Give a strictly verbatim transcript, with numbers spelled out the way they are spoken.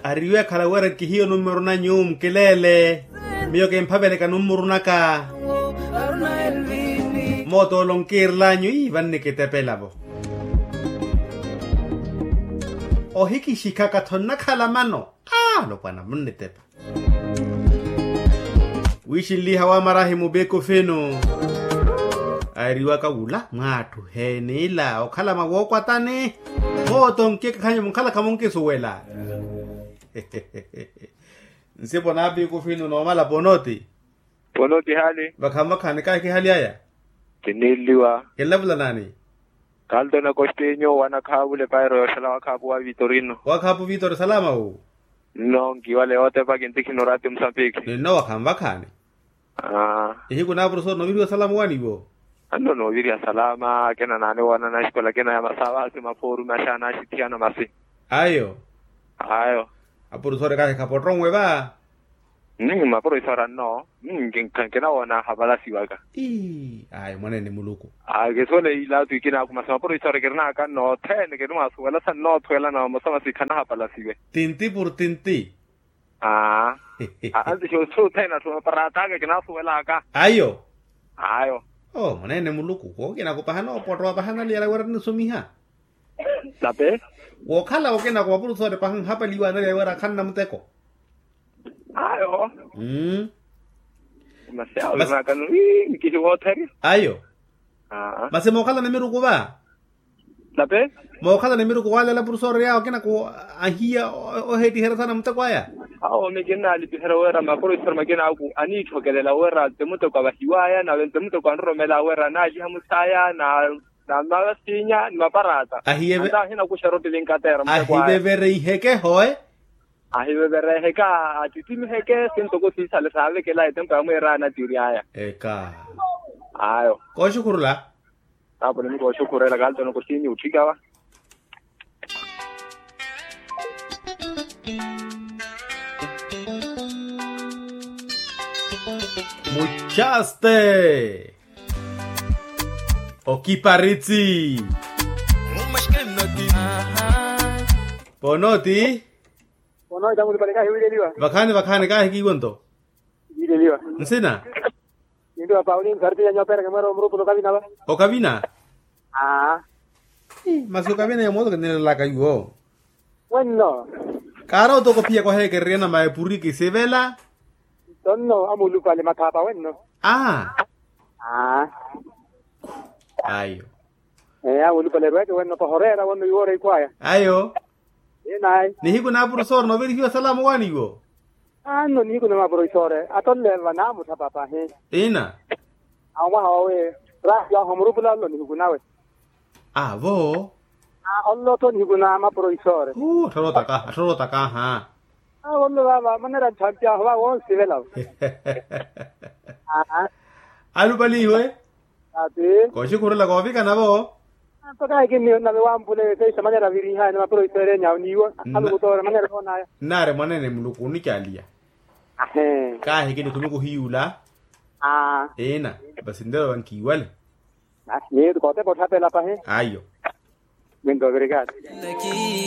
Ariwe akhala wira nkihiye onummuru nanyu mukileele. Miyo kimphaveleka nummuru naka. Mootolo nkiirel'anyu ii vannikitepela-vo. Ohikixikha-ka tho nnakhala mano. Alopwana munnitepa. Wiixinliha wa marahi mubikufinu. Airiwaka wula mwaattuhe n'ila okhala mwa wookwatani. Mooto nkikakhanyu munkhalakha munkisuwela. Nsipo n'abikufinu noomala ponoti. Ponoti hali. Vakhaani vakhaani kaahiki hali aya. Kiniiliwa. Kinlavula naani? Kaltona kostinyu wanakhaavule pairo yoxela wakhaapu wa vitorino. Wakhaapu vitori salama wu. Nno nkiwale yootepa kintikhina oraati musapikhi. Ninno wakhaani vakhaani. Ihiku na apurusoori nooviriwa salama owaani iwo. Anno nooviriha salama akina naani woonana axikola akina ya masavasi maphoru maxaana axithiyana masi. Ayo. Ayo. Apurusoori kahi khapottonwe va. Mapuro isora nno. Nkinawoona ahapalasiwaka. Ayo mwaneene muluku. Akisole ilaatu ikinaaku masi mapuro isora kirinaka nno othene kinimwasuwela sa nnoothuwela na vamosa masi khanahapalasiwe. Tinti pur tinti. Aa. Anti xoosi othene atthu maparata aka kinaasuwelaka. Ayo. Ayo. Oo mwaneene muluku kookinako paha noopottowa paha naliyala wira nnisomiha. Tape. Wookhala wokinako mapuro isora paha nhapaliwa naliyala wira khanna muteko. Ayo. Masi awo vinakano ii nkihiwootheri. Ayo. Masi mookhala ni miruku va. Tape. Mookhala ni miruku waaleela apurusoori awo akinako ahiya oheettiherya saana muteko aya. Awo mikinnaalipiherya wira mapurusoori makinaaku aniitthokelela wira nti muteko avahiwaya nave nti muteko anroromela wira anaaliha musaya na mavasinya ni maparata. Ahiye ve. Anta ahinakuxa rotti vinkateera muteko aya. Ahivevereiheke hoe. Ahivevereheka atittimiheke sintoko siisale saavekela etempo ya mwiiraana atiiri aya. Eka. Ayo. Kooxukhurula. Aponi mukooxukhurela kaltona koxinyu otthikava. Muchaste. Okiparitsi. Ponoti. Ono itamuti pale kahi wiileliwa. Vakhaani vakhaani kaahiki iwo nto. Wiileliwa. Nsina. Nindiwa paulini sarti yanyu apereke mwera omurupula okavina va. Okavina. Aa. Masi okavina ya mooto kinilelaka iwo. Wenno. Kaara otoko phiya kwaheekererya na maepuriki sivela. Tonno amulupale mathaapa wenno. Aa. Ayo. Ee awo olupale erweke wenno paha oreera wenno iwoora ikhwaya. Ayo. Ee nayi. Nihiku na apurusoori noovirihiwa salama owaani iwo. Anno nihiku na mapurusoori atonle vanamutthapa pahi. Ina. Awo mwaha wawe. Raahi aho murupula nlo nihiku nawe. Avo. Onlo tho nihiku na mapurusoori. Attorootaka attorootaka aha. Awo nlo vaava manera nthampi aho vaavo onsivelavo. Alupalihiwe. Ati. Kooxikhurela koovikana vo. Mpakha ekinniyo nnave wampule feisa manera virihaye na mapuroisoereni awo niiwo. Alukutoora manera oonaya. Nnaari mwaneene muluku onicaliya. Ahe. Kaahikini khumi kuhiyuula. Ina. Basi nlelo vankiiwale. Basi miyo kootepa otthapela pahi. Ayo. Minto ovirikati.